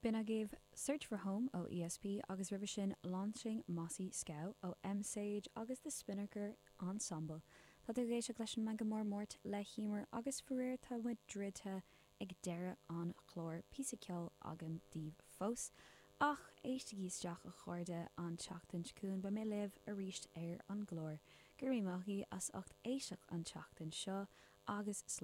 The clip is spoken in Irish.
B'in agaibh Search for Home ó ESP agus roimhe sin Launching Mossy Scow ó M-Sage agus The Spinnaker Ensemble. Tá tú ag éisteacht leis an Meangadh Mór Máirt le hEmer agus faraor tá muid druidte ag deireadh an chláir, píosa ceoil agam daoibh fós. Ach éistigí isteach a chairde an tseachtain seo chugainn beidh mé libh arís ar an gclár. Go raibh míle maith agaibh as ucht éisteacht an tseachtain seo agus slán.